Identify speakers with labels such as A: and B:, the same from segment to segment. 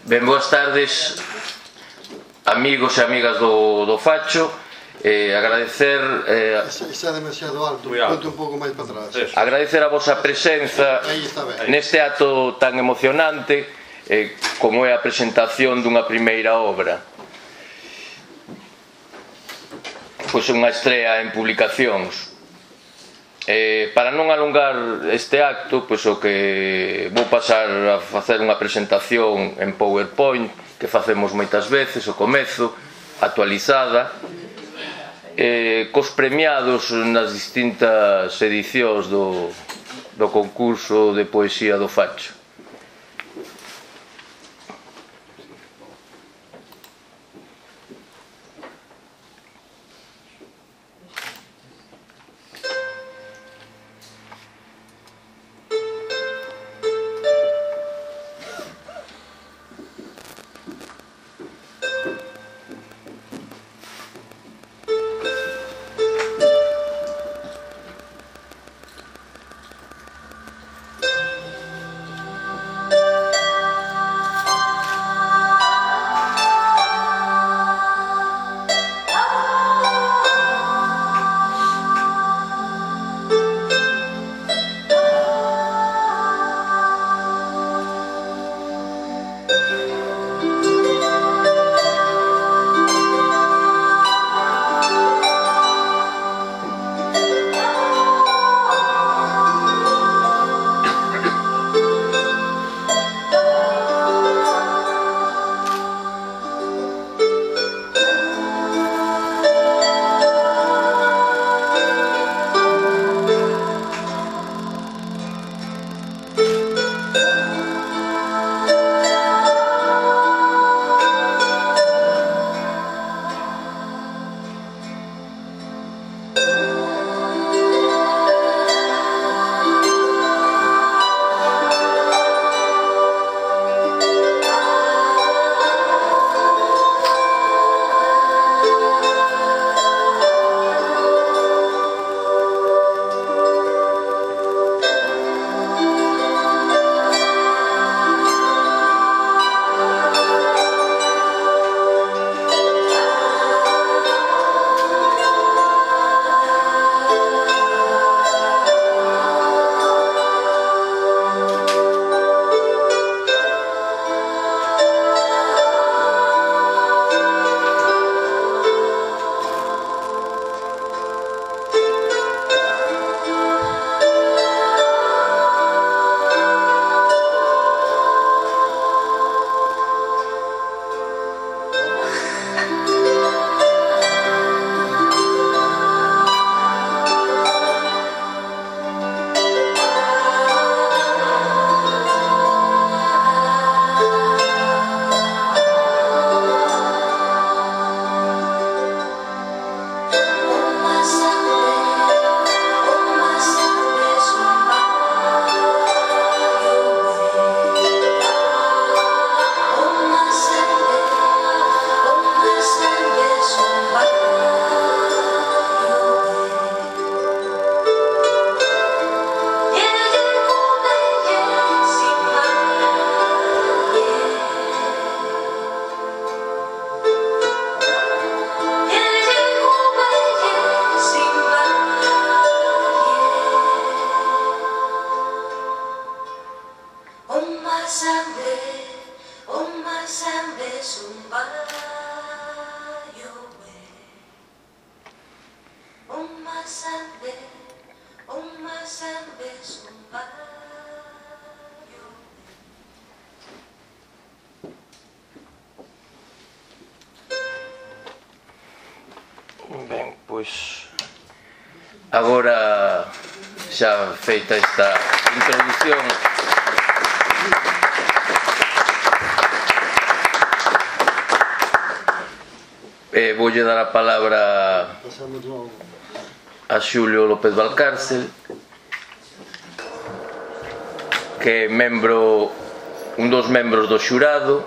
A: Ben, boas tardes, amigos e amigas do Facho. Agradecer...
B: Está demasiado alto, ponte un pouco máis para atrás.
A: Agradecer a vosa presenza neste acto tan emocionante como é a presentación dunha primeira obra. Pois unha estrea en publicacións. Para non alongar este acto, pois o que vou pasar a facer unha presentación en PowerPoint que facemos moitas veces, o comezo, actualizada, cos premiados nas distintas edicións do concurso de poesía do Facho. Ben, pois agora xa feita esta introdución, voulle dar a palabra a Xulio López Valcárcel, que é un dos membros do xurado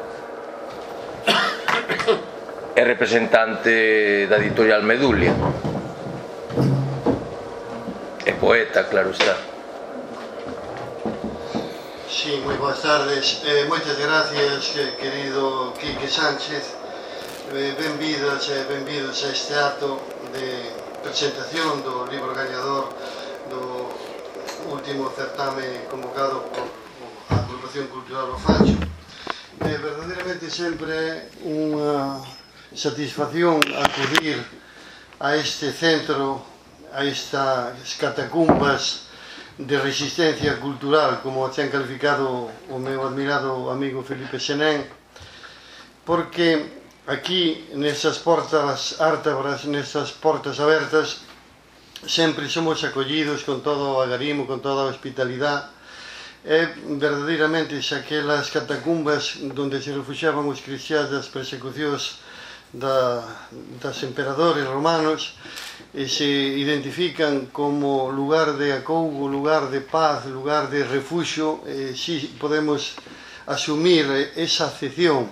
A: e representante da editorial Medulia, e poeta, claro está.
B: Si, Sí, moi boas tardes. Moitas gracias, querido Quique Sánchez. Benvidas e benvidos a este acto de presentación do libro gañador do último certame convocado por a Agrupación Cultural O Facho. Verdadeiramente sempre é unha satisfacción acudir a este centro, a estas catacumbas de resistencia cultural, como ten calificado o meu admirado amigo Felipe Senén, porque aquí, nestas portas ártabras, nestas portas abertas, sempre somos acollidos con todo o agarimo, con toda a hospitalidade. É verdadeiramente aquelas catacumbas onde se refugiaban os cristiáns das persecucións das emperadores romanos, e se identifican como lugar de acougo, lugar de paz, lugar de refuxio. Si podemos asumir esa acepción,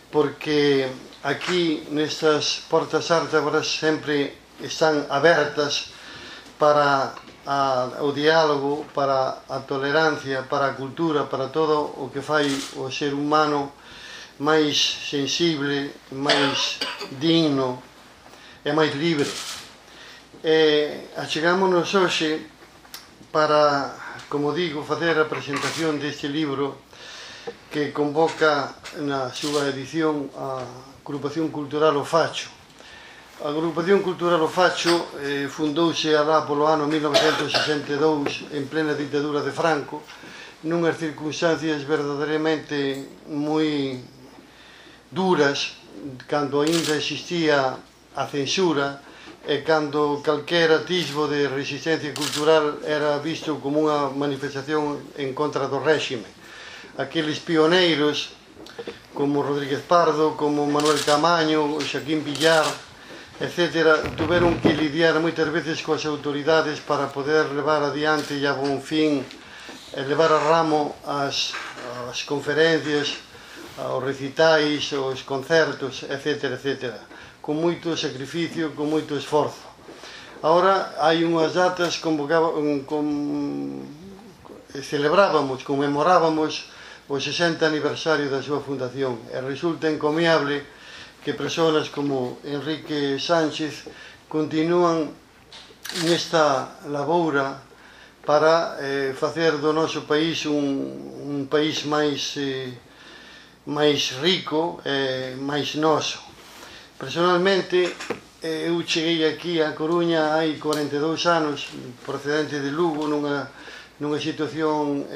B: porque aquí nestas portas ártabras sempre están abertas para o diálogo, para a tolerancia, para a cultura, para todo o que fai o ser humano máis sensible, máis digno e máis libre. Achegámonos hoxe para, como digo, facer a presentación deste libro que convoca na súa edición a Agrupación Cultural O Facho. A Agrupación Cultural O Facho fundouse alá polo ano 1962 en plena ditadura de Franco, nunhas circunstancias verdadeiramente moi duras, cando aínda existía a censura e cando calquera atisbo de resistencia cultural era visto como unha manifestación en contra do réxime. Aqueles pioneiros como Rodríguez Pardo, como Manuel Camaño, Xaquín Villar, etc., tuveron que lidiar moitas veces coas autoridades para poder levar adiante e a bon fin, levar a ramo as conferencias, os recitais, os concertos, etc., etc., con moito sacrificio, con moito esforzo. Agora hai unhas datas celebrábamos, conmemorábamos o 60 aniversario da súa fundación, e resulta encomiable que persoas como Enrique Sánchez continúan nesta laboura para facer do noso país un país máis rico e máis noso. Personalmente, eu cheguei aquí a Coruña hai 42 anos, procedente de Lugo, nunha situación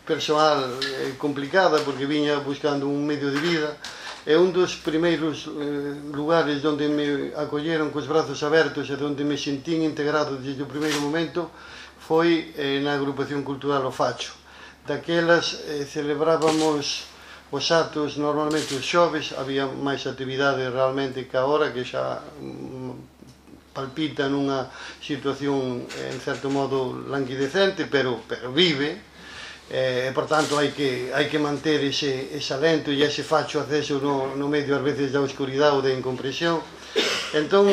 B: persoal complicada, porque viña buscando un medio de vida, e un dos primeiros lugares onde me acolleron cos brazos abertos e onde me sentín integrado desde o primeiro momento foi na Agrupación Cultural O Facho. Daquelas celebrábamos os actos normalmente os xoves, había máis actividade realmente que agora, que xa palpita nunha situación en certo modo languidecente, pero vive, e por tanto hai que manter ese alento e ese facho acceso no medio ás veces da oscuridade ou da incompresión. Entón,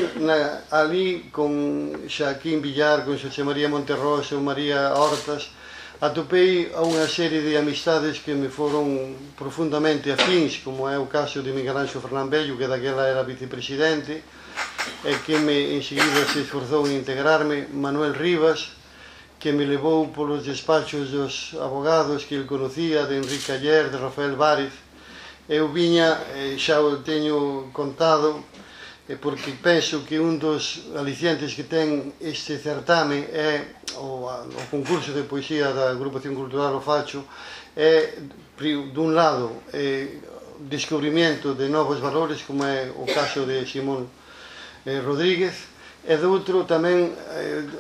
B: ali con Xaquín Villar, con Xosé María Monterroso, María Hortas, atopei a unha serie de amistades que me foron profundamente afins, como é o caso de Miguel Anxo Fernán Bello, que daquela era vicepresidente, e que enseguida se esforzou en integrarme, Manuel Rivas, que me levou polos despachos dos abogados que ele conocía, de Enrique Ayer, de Rafael Várez. Eu viña, xa o teño contado, porque penso que un dos alicientes que ten este certame é o concurso de poesía da Agrupación Cultural O Facho, é, dun lado, descubrimento de novos valores, como é o caso de Simón Rodríguez, e do outro tamén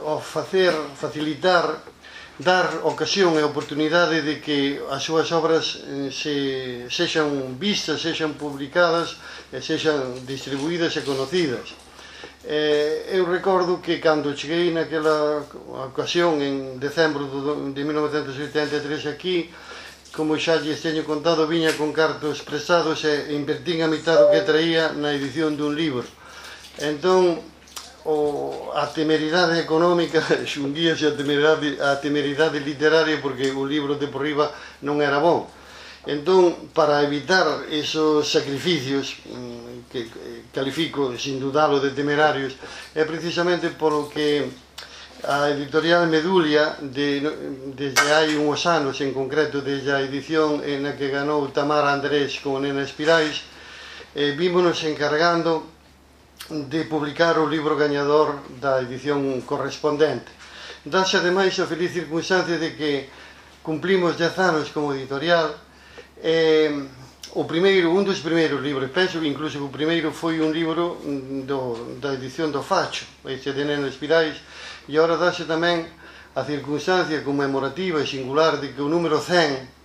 B: o facilitar, dar ocasión e oportunidade de que as súas obras sexan vistas, sexan publicadas e sexan distribuídas e conocidas. Eu recordo que cando cheguei naquela ocasión en decembro de 1983 aquí, como xa lles teño contado, viña con cartos prestados e invertín a mitad do que traía na edición dun libro. Entón, a temeridade económica xunguíase a temeridade literaria, porque o libro de por riba non era bon. Entón, para evitar esos sacrificios que califico sin dudalo de temerarios, é precisamente polo que a editorial Medulia, desde hai uns anos, en concreto desde a edición na que ganou Tamara Andrés con Nena Espirais, vímonos encargando de publicar o libro gañador da edición correspondente. Dáse ademais a feliz circunstancia de que cumplimos 10 anos como editorial. Un dos primeiros libros, penso que incluso o primeiro foi un libro da edición do Facho, ese de Nena Espirais, e agora dáse tamén a circunstancia conmemorativa e singular de que o número 100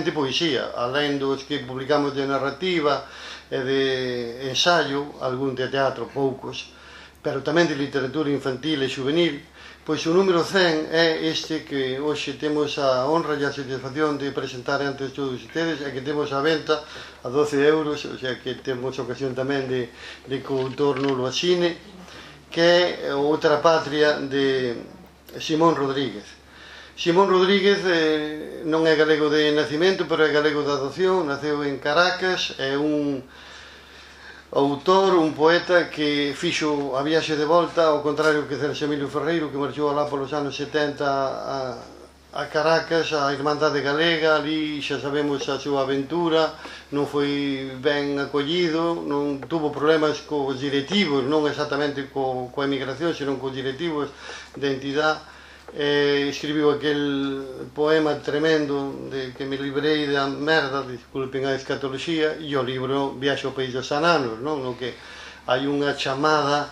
B: de poesía, alén dos que publicamos de narrativa e de ensayo, algún de teatro, poucos, pero tamén de literatura infantil e juvenil, pois o número 100 é este que hoxe temos a honra e a satisfacción de presentar ante todos ustedes, e que temos a venta a 12 euros, o sea que temos ocasión tamén de coautor nulo asine, que é Outra Patria de Simón Rodríguez. Simón Rodríguez non é galego de nacimento, pero é galego de adopción, naceu en Caracas, é un autor, un poeta que fixo a viaxe de volta, ao contrario que Celso Emilio Ferreiro, que marchou alá polos anos 70 a Caracas, a Irmandade Galega, ali xa sabemos a súa aventura, non foi ben acollido, non tuvo problemas cos directivos, non exactamente coa emigración, senón cos directivos da entidade. Escribiu aquel poema tremendo de que me librei da merda, disculpen a escatoloxía, e o libro Viaxe ao País dos Ananos, no que hai unha chamada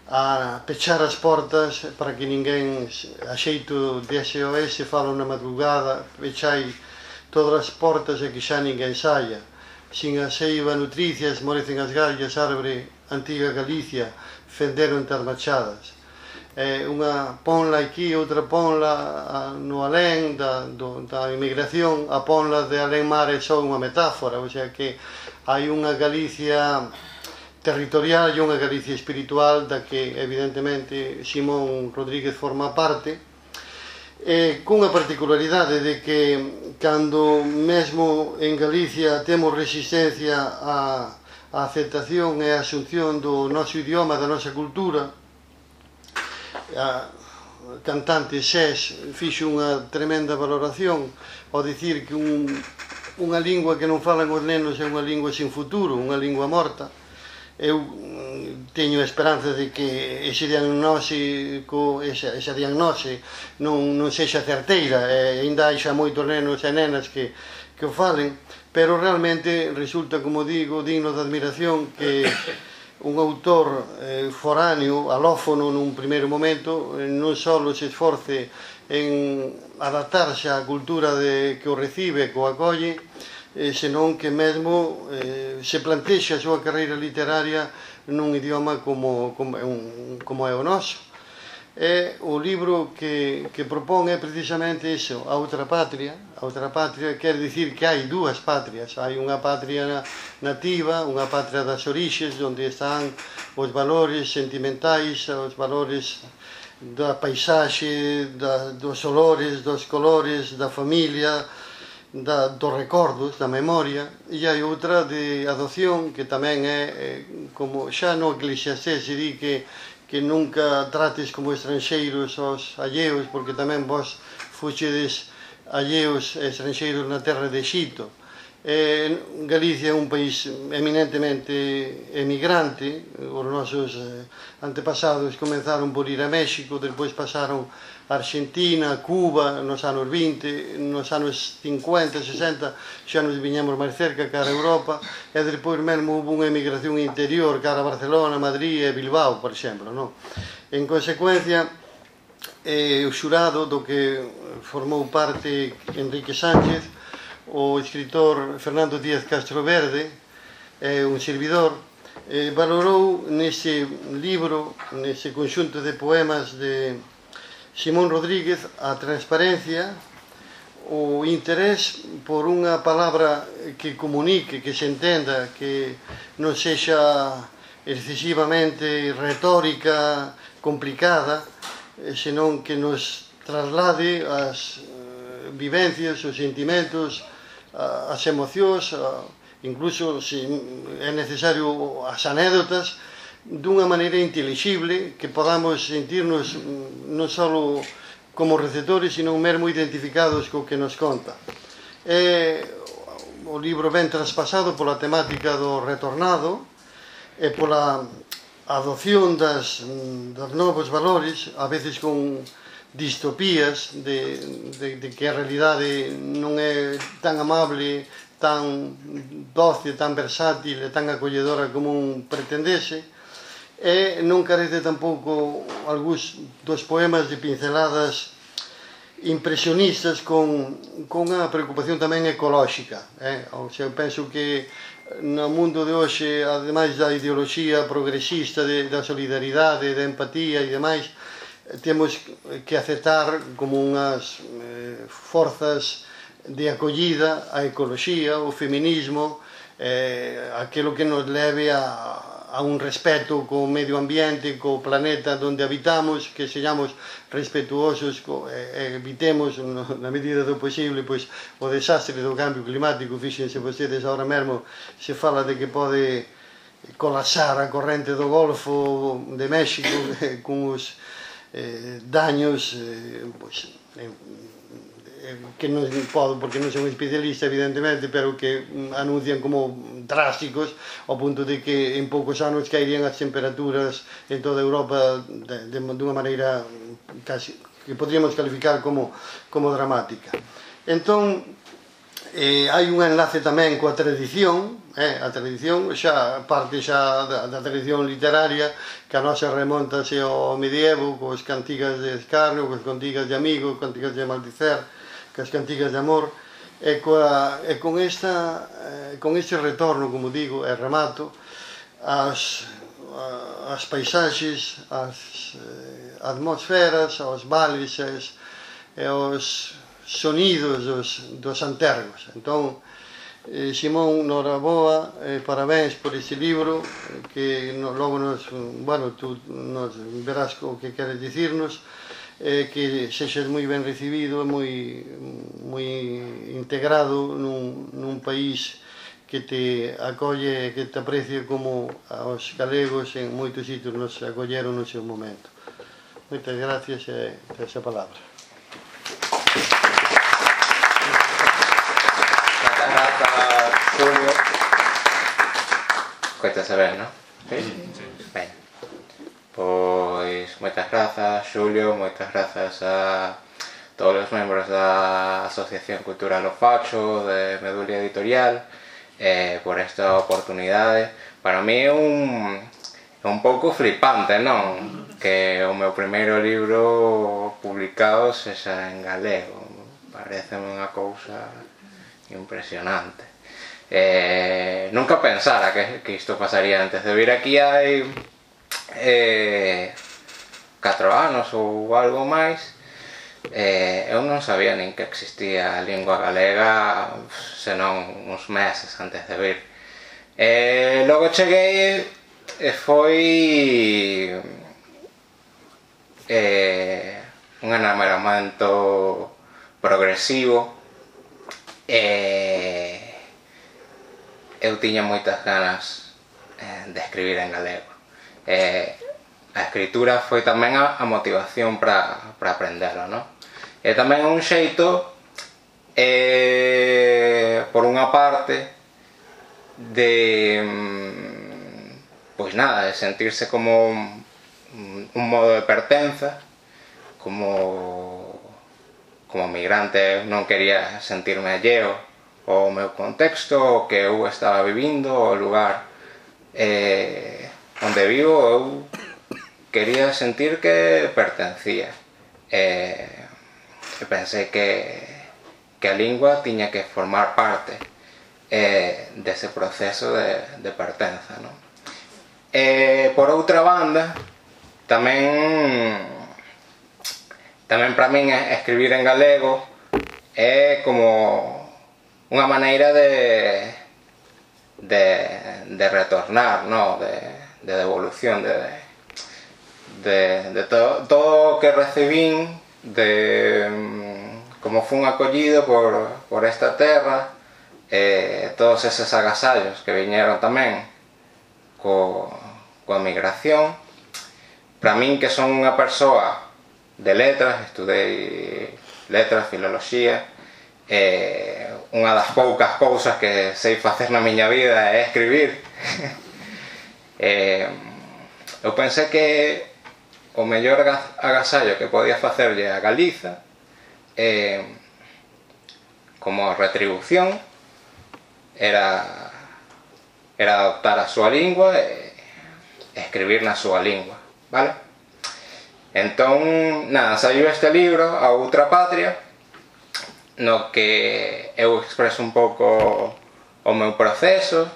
B: a pechar as portas para que ninguén, a xeito de SOS, falo na madrugada, pechai todas as portas e que xa ninguén saia. Sin a seiva nutricia esmorecen as gallas, árbore antiga Galicia, fenderon tas machadas. Unha ponla aquí, outra ponla no alén da emigración, a ponla de alén mar é só unha metáfora, o sea que hai unha Galicia territorial e unha Galicia espiritual da que evidentemente Simón Rodríguez forma parte, cunha particularidade de que cando mesmo en Galicia temos resistencia á aceptación e a asunción do noso idioma, da nosa cultura, a cantante Xés fixo unha tremenda valoración ao dicir que unha lingua que non falan os nenos é unha lingua sin futuro, unha lingua morta. Eu teño a esperanza de que esa diagnose non sexa certeira, e ainda hai xa moitos nenos e nenas que o falen, pero realmente resulta, como digo, digno de admiración que un autor foráneo, alófono nun primeiro momento, non só se esforce en adaptarse á cultura que o recibe, que o acolle, senón que mesmo se plantexa a súa carreira literaria nun idioma como é o noso. O libro que propón é precisamente iso, a outra patria. A outra patria quer dicir que hai dúas patrias. Hai unha patria nativa, unha patria das orixes, onde están os valores sentimentais, os valores da paisaxe, dos olores, dos colores, da familia, dos recordos, da memoria. E hai outra de adopción, que tamén é, como xa no Eclesiastés se di que nunca trates como estranxeiros aos alleos, porque tamén vos fuxedes alleos e estranxeiros na terra de Xito. Galicia é un país eminentemente emigrante. Os nosos antepasados comenzaron por ir a México, despois pasaron a Argentina, a Cuba, nos anos 20, nos anos 50, 60, xa nos viñamos máis cerca, cara a Europa, e despois mesmo houve unha emigración interior, cara a Barcelona, Madrid e Bilbao, por exemplo. En consecuencia, o xurado do que formou parte Enrique Sánchez, o escritor Fernando Díaz Castroverde, un servidor, valorou nese libro, nese conxunto de poemas de Simón Rodríguez, a transparencia, o interés por unha palabra que comunique, que se entenda, que non sexa excesivamente retórica complicada, senón que nos traslade as vivencias, os sentimentos, as emocións, incluso se é necesario as anécdotas, dunha maneira intelixible, que podamos sentirnos non só como receptores, sino mesmo identificados co que nos conta. O libro ben traspasado pola temática do retornado e pola adopción das novos valores, a veces con distopías de que a realidade non é tan amable, tan doce, tan versátil e tan acolledora como un pretendese, e non carece tampouco algúns dos poemas de pinceladas impresionistas con unha preocupación tamén ecolóxica. Eu penso que no mundo de hoxe, ademais da ideoloxía progresista da solidaridade, da empatía e demais, temos que aceptar como unhas forzas de acollida a ecoloxía, o feminismo, aquilo que nos leve a un respeto co medio ambiente, co planeta onde habitamos, que seamos respetuosos, evitemos na medida do posible o desastre do cambio climático. Fíxense vostedes, agora mesmo se fala de que pode colapsar a corrente do Golfo de México con os daños que non podo, porque non son especialista evidentemente, pero que anuncian como drásticos, ao punto de que en poucos anos caerían as temperaturas en toda Europa dunha maneira casi que podríamos calificar como dramática. Entón, hai un enlace tamén coa tradición, a tradición xa parte xa da tradición literaria, que a nosa remontase ao medievo, coas cantigas de escarnio, coas cantigas de amigo, coas cantigas de maldicer, coas cantigas de amor, e con este retorno, como digo, e remato, as paisaxes, as atmosferas, os vales e os sonidos dos antergos. Entón, Simón, noraboa, parabéns por este libro, que logo tú nos verás o que queres dicirnos, que sexas moi ben recibido, moi integrado nun país que te acolle, que te aprecie como aos galegos en moitos sitios nos acolleron no seu momento. Moitas gracias e esa palabra.
C: Julio, coitas a ver, non? Sí? Ben, pois moitas grazas, Xulio, moitas grazas a todos os membros da Asociación Cultural O Facho, de Medulia Editorial, por esta oportunidade. Para mí é un pouco flipante, non? Que o meu primeiro libro publicado sexa en galego. Pareceme unha cousa impresionante. Nunca pensara que isto pasaría antes de vir aquí hai 4 anos ou algo máis. Eu non sabía nin que existía a lingua galega, senón uns meses antes de vir. Logo cheguei e foi un enamoramento progresivo. Eu tiña moitas ganas de escribir en galego. A escritura foi tamén a motivación para aprendelo, non? E tamén un xeito, por unha parte, de de sentirse como un modo de pertenza, como migrante non quería sentirme alleo ao meu contexto, o que eu estaba vivindo, o lugar onde vivo. Eu quería sentir que pertencía, e pensei que a lingua tiña que formar parte dese proceso de pertenza, non? Por outra banda, tamén para min escribir en galego é como unha maneira de retornar, non? devolución de todo o que recibín, de como fun acollido por esta terra, todos eses agasallos que viñeron tamén coa migración. Para min, que son unha persoa de letras, estudei letras, filoloxía, unha das poucas cousas que sei facer na miña vida é escribir. Eu pensei que o mellor agasallo que podía facerlle a Galiza, como retribución, era adoptar a súa lingua e escribir na súa lingua, vale? Entón, nada, saiu este libro, A Outra Patria, no que eu expreso un pouco o meu proceso,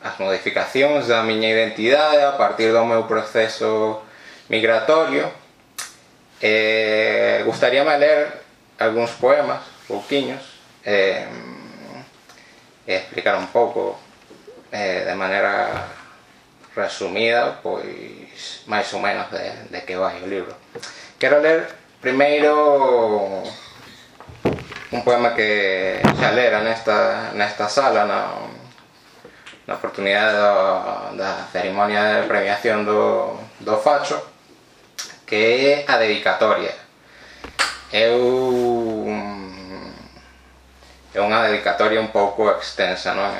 C: as modificacións da miña identidade a partir do meu proceso migratorio. Gustaríame ler algúns poemas, pouquiños, e explicar un pouco de maneira resumida, pois máis ou menos de que vai o libro. Quero ler primeiro un poema que xa lera nesta sala na oportunidade da cerimonia de premiación do Facho, que é a dedicatoria. É unha dedicatoria un pouco extensa, non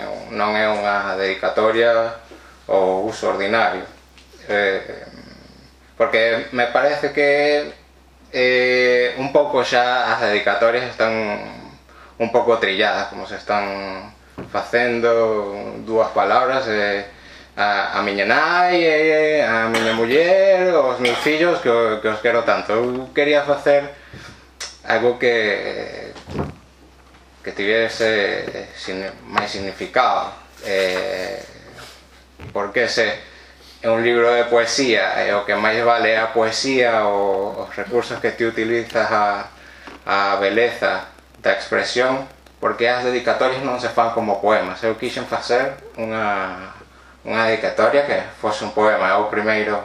C: é unha dedicatoria ao uso ordinario, porque me parece que un pouco xa as dedicatorias están un pouco trilladas, como se están facendo dúas palabras, a miña nai, a miña muller, os meus fillos, que os quero tanto. Eu quería facer algo que tivese máis significado, porque se é un libro de poesía e o que máis vale é a poesía, os recursos que ti utilizas, a beleza da expresión, porque as dedicatorias non se fan como poemas. Eu quixen facer unha dedicatoria que fose un poema. É o primeiro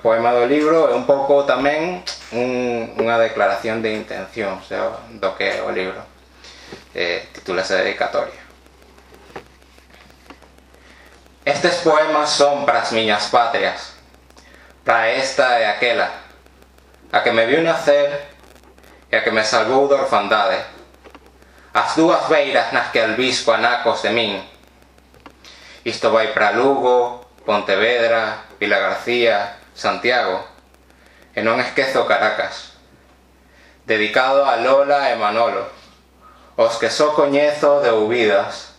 C: poema do libro, e un pouco tamén unha declaración de intencións do que é o libro. Titúlase Dedicatoria. Estes poemas son para as miñas patrias, para esta e aquela, a que me viu nacer e a que me salvou da orfandade, as dúas beiras nas que albisco anacos de min. Isto vai para Lugo, Pontevedra, Vilagarcía, Santiago, e non esquezo Caracas. Dedicado a Lola e Manolo, os que só coñezo de ouvidas,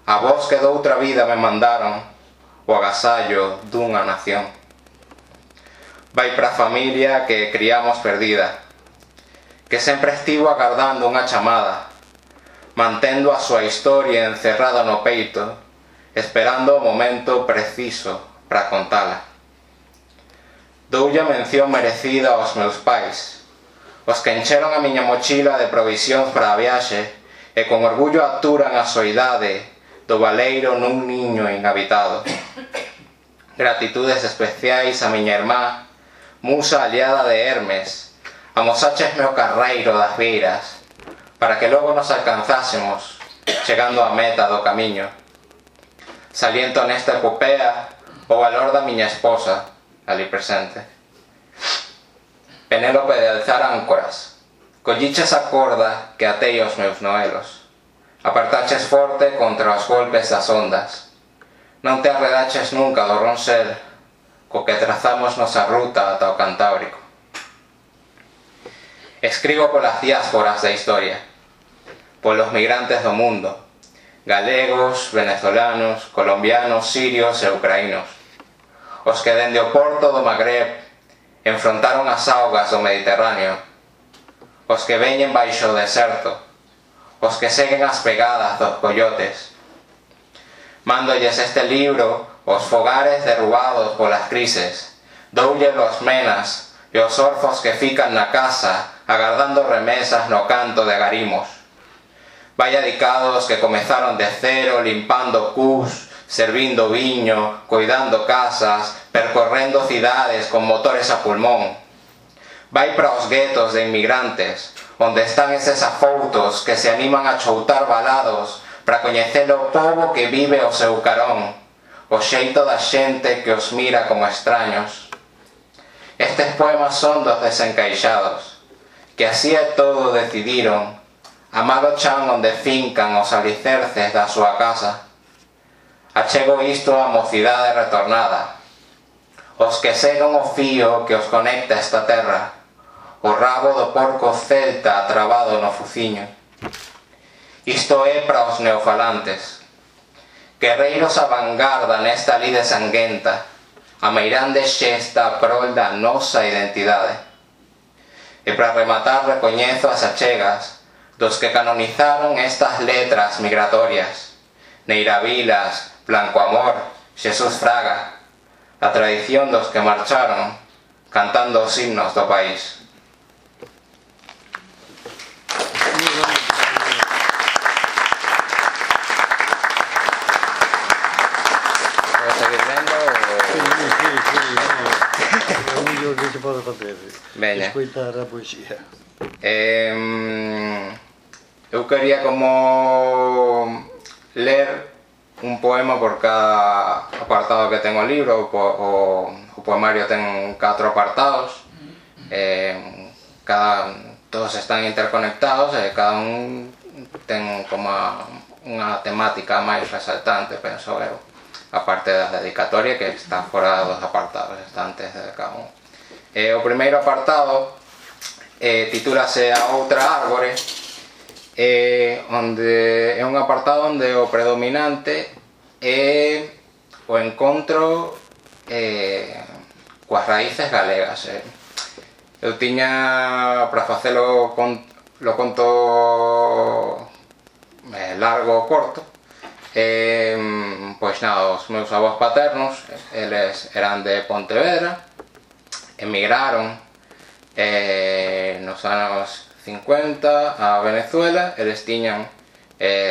C: a vos que doutra vida me mandaron o agasallo dunha nación. Vai para a familia que criamos perdida, que sempre estivo agardando unha chamada, mantendo a súa historia encerrada no peito, esperando o momento preciso para contala. Doulle a mención merecida aos meus pais, os que encheron a miña mochila de provisións para a viaxe e con orgullo aturan a soidade do baleiro nun niño inhabitado. Gratitudes especiais a miña irmá, musa aliada de Hermes, amosáchesme o carreiro das beiras, para que logo nos alcanzásemos, chegando á meta do camiño. Saliento nesta epopea o valor da miña esposa, ali presente. Penélope de alzar áncoras, colliches a corda que atei aos meus noelos, apartaches forte contra os golpes das ondas, non te arredaches nunca do ronsel co que trazamos nosa ruta ata o Cantábrico. Escribo polas diásporas da historia, polos migrantes do mundo, galegos, venezolanos, colombianos, sirios e ucraínos, os que dende o porto do Magreb enfrontaron as augas do Mediterráneo, os que veñen baixo o deserto, os que seguen as pegadas dos coyotes. Mándolles este libro os fogares derrubados polas crises, doulle os menas e os orfos que fican na casa agardando remesas no canto de agarimos. Vai dedicado aos que comezaron de cero limpando cus servindo viño, cuidando casas, percorrendo cidades con motores a pulmón. Vai para os guetos de inmigrantes, onde están eses afoutos que se animan a choutar balados para coñecer o pobo que vive ao seu carón, o xeito da xente que os mira como extraños. Estes poemas son dos desencaixados, que así é todo decidiron, amar o chan onde fincan os alicerces da súa casa. Achego isto á mocidade retornada, os que segan o fío que os conecta esta terra, o rabo do porco celta trabado no fuciño. Isto é para os neofalantes, guerreiros a vanguarda nesta lide sanguenta, a meirande xesta prol da nosa identidade. E para rematar recoñezo as achegas dos que canonizaron estas letras migratorias, Neira Vilas, Blanco Amor, Xesús Fraga, a tradición dos que marcharon cantando os himnos do país.
B: Que se pode facer?
C: Veña.
B: Escoitar a poesía.
C: Eu quería como ler un poema por cada apartado que ten o libro. O poemario ten 4 apartados, todos están interconectados e cada un ten como unha temática máis resaltante, penso eu, aparte da dedicatoria que está fora dos apartados, está antes de cada un. O primeiro apartado titúlase A outra árbore, onde é un apartado onde o predominante é o encontro coas raíces galegas. Eu tiña, para facelo lo conto largo ou corto, pois nada, os meus avós paternos, eles eran de Pontevedra, emigraron nos anos 50 a Venezuela. Eles tiñan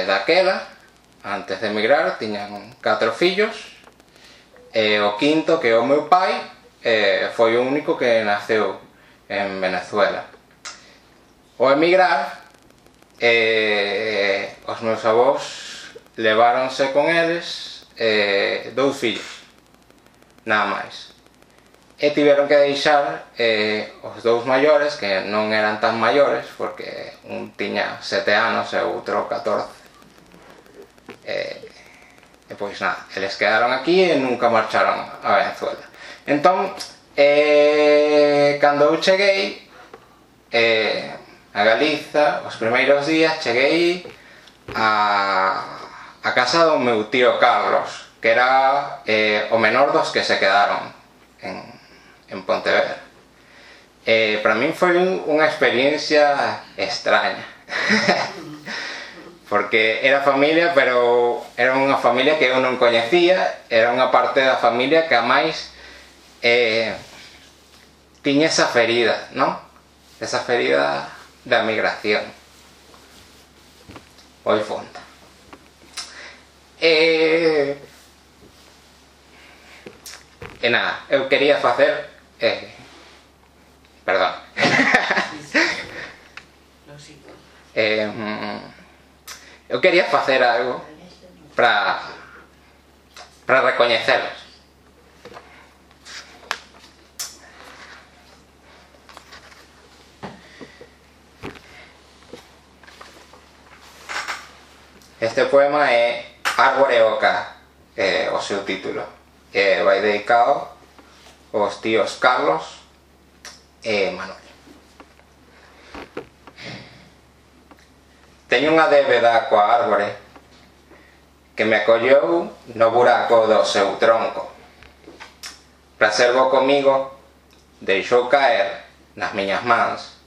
C: daquela, antes de emigrar, tiñan 4 fillos, e o quinto, que é o meu pai, foi o único que naceu en Venezuela. Ao emigrar, os meus avós leváronse con eles 2 fillos, nada máis. E tiveron que deixar os 2 maiores, que non eran tan maiores, porque un tiña 7 anos e outro 14. E pois nada, eles quedaron aquí e nunca marcharon a Venezuela. Entón, cando eu cheguei a Galiza, os primeiros días cheguei a casa do meu tío Carlos, que era o menor dos que se quedaron en Pontevedra. Para min foi unha experiencia extraña porque era familia, pero era unha familia que eu non coñecía, era unha parte da familia que a máis tiña esa ferida, non? Esa ferida da migración moi fonda. E nada, eu quería facer perdón eu quería facer algo para recoñecelos. Este poema é Árbore Oca, o seu título. Vai dedicado aos tíos Carlos e Manuel. Teño unha débeda coa árbore que me acolleu no buraco do seu tronco. Para ser bo comigo, deixou caer nas miñas mans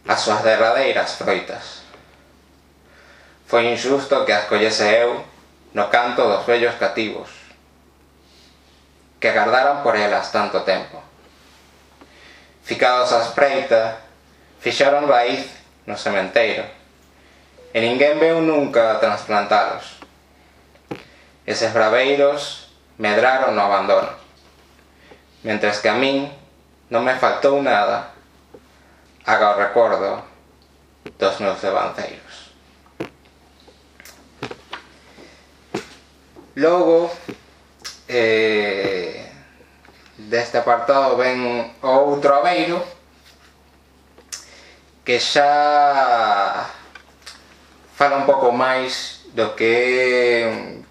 C: as súas derradeiras froitas. Foi injusto que as collese eu no canto dos vellos cativos, que agardaran por elas tanto tempo. Ficados á espreita, fixaron raíz no sementeiro, e ninguén veu nunca a transplantalos. eses braveiros medraron no abandono, mentres que a min non me faltou nada aga o recordo dos meus devanceiros. Logo, deste apartado ven outro abeiro que xa fala un pouco máis do que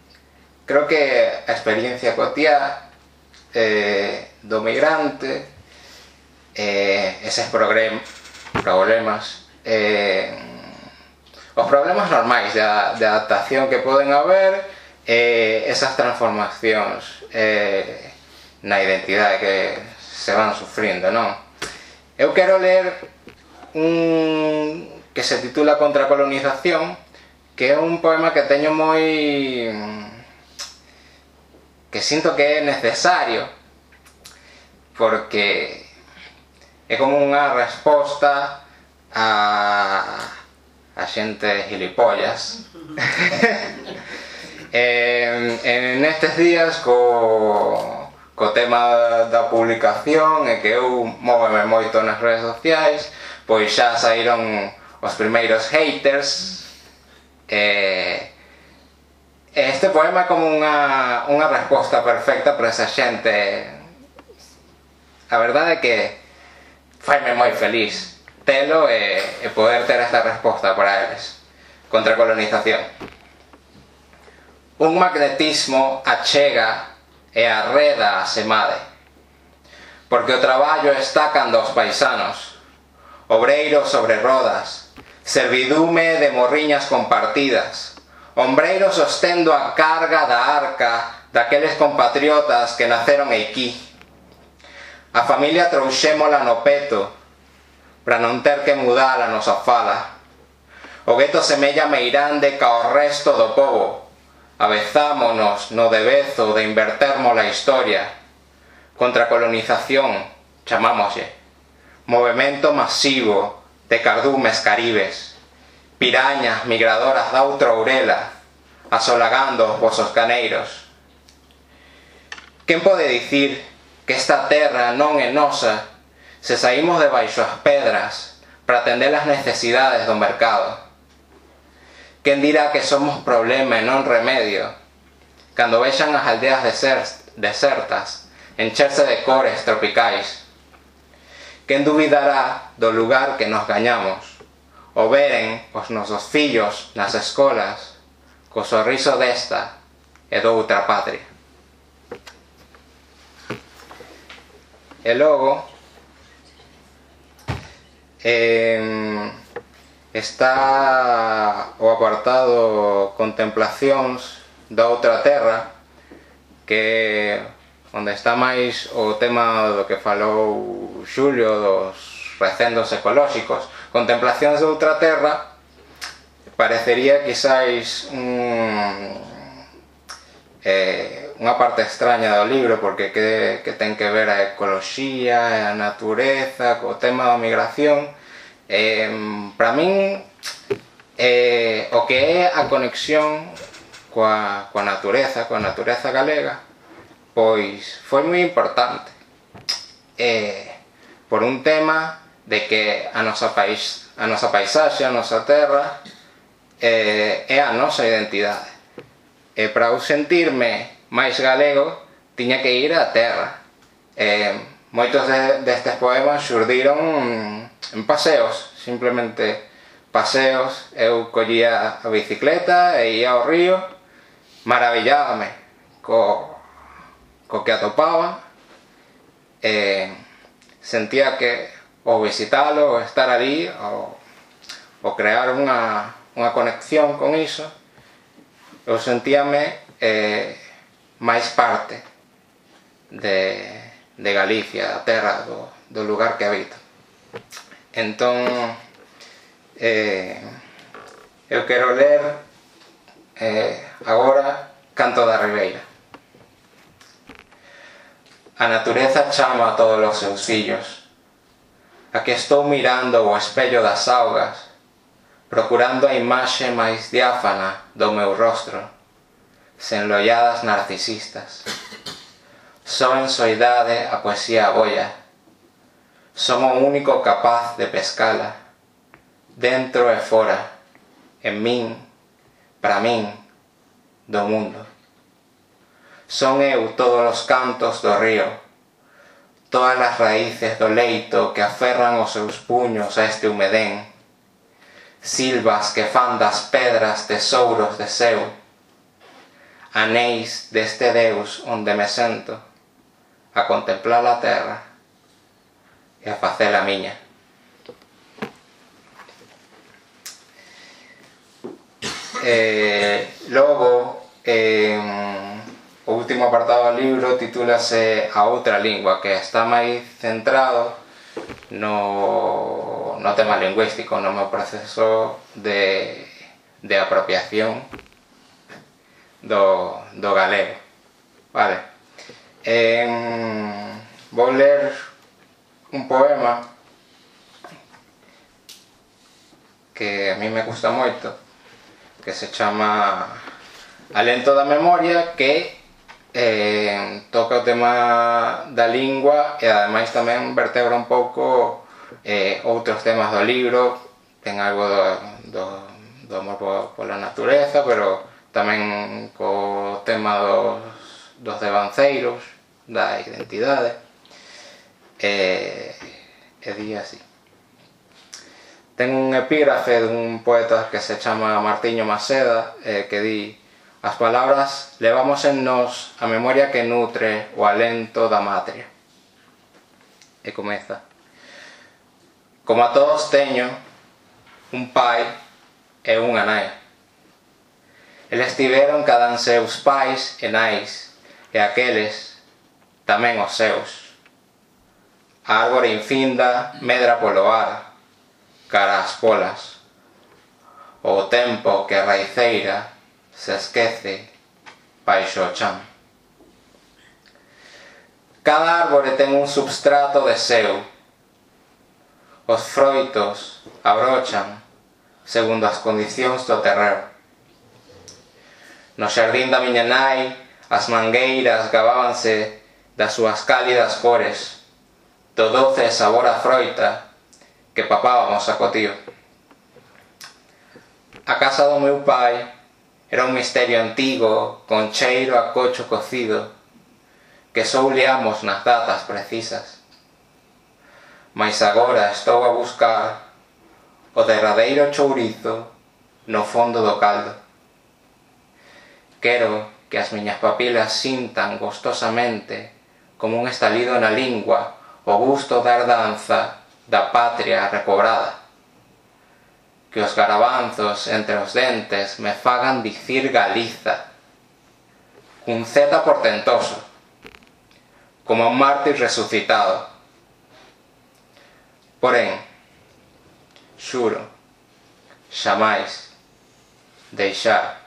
C: creo que a experiencia cotiá do migrante, eses problemas, os problemas normais de adaptación que poden haber, esas transformacións na identidade que se van sufrindo, non? Eu quero ler un que se titula Contracolonización, que é un poema que teño moi... que sinto que é necesario, porque é como unha resposta a xente gilipollas. Nestes días co tema da publicación e que eu móveme moito nas redes sociais, pois xa saíron os primeiros haters. Este poema é como unha resposta perfecta para esa xente. A verdade é que faime moi feliz telo e poder ter esta resposta para eles. Contracolonización. Un magnetismo achega e arreda a semade, porque o traballo está cando os paisanos, obreiros sobre rodas, servidume de morriñas compartidas, ombreiros sostendo a carga da arca daqueles compatriotas que naceron aquí. A familia trouxémola no peto para non ter que mudar a nosa fala. O gueto semella meirande ca o resto do pobo. Avezámonos no debezo de invertermos a historia. Contracolonización, chamámoslle. Movemento masivo de cardumes caribes, pirañas migradoras da outra ourela, asolagando os vosos caneiros. Quen pode dicir que esta terra non é nosa se saímos debaixo as pedras para atender as necesidades do mercado? Quen dirá que somos problema e non remedio cando vexan as aldeas desertas encherse de cores tropicais? Quen dubidará do lugar que nos gañamos o veren os nosos fillos nas escolas co sorriso desta e doutra patria? E logo está o apartado Contemplacións da outra terra, que onde está máis o tema do que falou Xulio dos recendos ecolóxicos. Contemplacións da outra terra parecería quizáis unha parte extraña do libro, porque que ten que ver a ecoloxía e a natureza co tema da migración. Para min o que é a conexión coa natureza galega, pois foi moi importante, por un tema de que a nosa paisaxe, a nosa terra é a nosa identidade, e para eu sentirme máis galego tiña que ir á terra. Moitos destes poemas xurdiron en paseos, simplemente paseos. Eu collía a bicicleta e ia ao río, maravillábame co que atopaba, sentía que o visitalo, o estar ali, o crear unha conexión con iso, eu sentíame máis parte de Galicia, da terra, do lugar que habito. Entón, eu quero ler agora Canto da Ribeira. A natureza chama a todos os seus fillos. Aquí estou mirando o espello das augas, procurando a imaxe máis diáfana do meu rostro. sen narcisistas. Só en soidade a poesía abolla. Somos o único capaz de pescala, dentro e fora, en min, para min, do mundo. Son eu todos os cantos do río, todas as raíces do leito que aferran os seus puños a este humedén, silvas que fan das pedras tesouros de seu, anéis deste Deus onde me sento a contemplar a terra e a facer a miña. Logo, o último apartado do libro titúlase A outra lingua, que está máis centrado no tema lingüístico, no meu proceso de apropiación do galego. Vale. Vou ler un poema que a mí me gusta moito, que se chama Alento da Memoria, que toca o tema da lingua e ademais tamén vertebra un pouco outros temas do libro. Ten algo do amor pola natureza, pero tamén co tema dos devanceiros, da identidade, e di así. Ten un epígrafe dun poeta que se chama Martiño Maseda, que di: as palabras levamos en nós a memoria que nutre o alento da matria. E comeza: como a todos teño un pai e unha nai. Eles tiveron cada un seus pais e nais, e aqueles tamén os seus. A árbore infinda medra polo ar, cara ás polas. O tempo que a raiceira se esquece baixo o chan. Cada árbore ten un substrato de seu. Os froitos abrochan segundo as condicións do terreo. No xardín da miña nai, as mangueiras gabábanse das súas cálidas cores, do doce sabor a froita que papábamos a cotío. A casa do meu pai era un misterio antigo, con cheiro a cocho cocido, que só liamos nas datas precisas. Mais agora estou a buscar o derradeiro chourizo no fondo do caldo. Quero que as miñas papilas sintan gostosamente, como un estalido na lingua, o gusto da herdanza da patria recobrada. Que os garabanzos entre os dentes me fagan dicir Galiza, cun Z portentoso, como un mártir resucitado. Porén, xuro, xamais deixar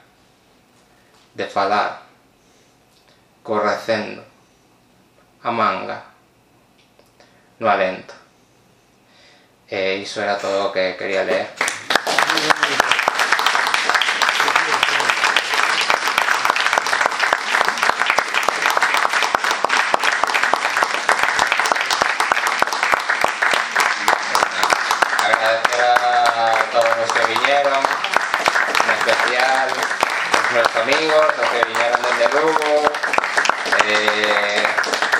C: de falar correcendo a manga no alento. E iso era todo o que quería ler. Agradecer a todos los que vinieron, en especial os meus amigos, os que vinieron desde Lugo,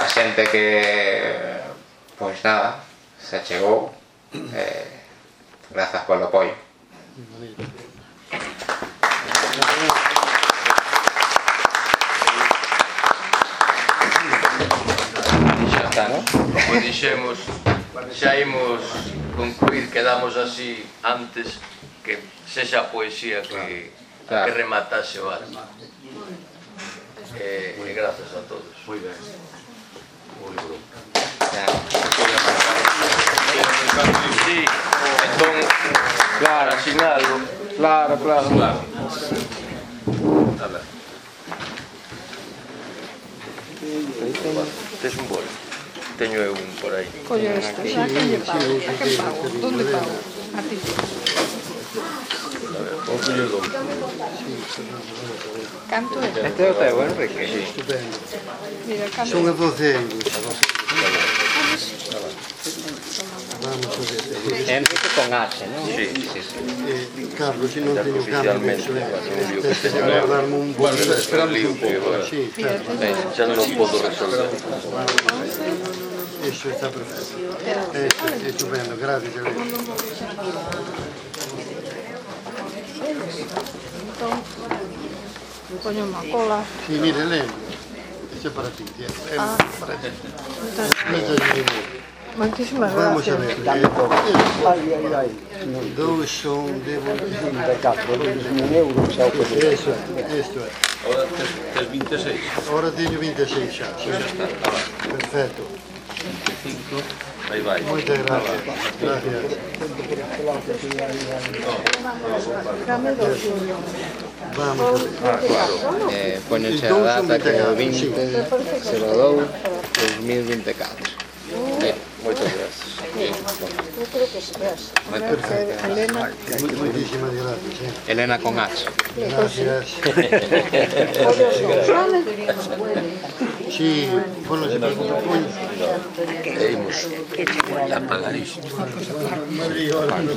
C: a xente que, pois nada, se chegou. Grazas polo apoio.
A: Xa está, non? Como dixemos, xa imos concluir, quedamos así antes que sexa a poesía que rematase o acto. E grazas a todos.
D: Moi ben. Moi ben.
A: Sí, entón,
E: Claro,
A: asinalo.
E: claro.
A: A ver. Tes un bolo? Teño eu un por aí.
F: Coño, esta, a que lle pago? A que pago? Donde pago? A ti.
A: A ver,
F: Canto é?
E: Este é o teu, Enrique?
B: Estupendo.
F: Mira, canto.
B: Son a 12 euros. Vamos a ver.
E: Enrique con H, non?
A: Sí.
B: Carlos, se non teño
A: Oficialmente,
B: cambio, este se vai darme un buen...
A: Esperamos un pouco.
B: Sí, claro.
A: Xa non podo resolver.
B: Eso está perfecto. Estupendo, gracias.
F: Entón, poño unha cola.
B: Sí, mire, lembro. Eso é para ti, tía. Para ti.
F: Moitísimas
B: Vamos a
F: gracias.
B: ver. Dous son de
E: 24 euros, xa o que
B: Eso é, isto é.
D: Ahora tes 26.
B: Ahora teño 26 xa. Perfecto.
D: Aí vai.
B: Moitas gracias. Gracias. Vamos a ver.
E: Poñense a data que é o 20/02/2024.
A: Moitas gracias.
F: Elena,
B: Moitísimas gracias.
E: Elena con H.
B: Gracias. Sí, bueno, se preocupa, coño.
D: E imos a pagar isto.
B: Madrid, ahora no.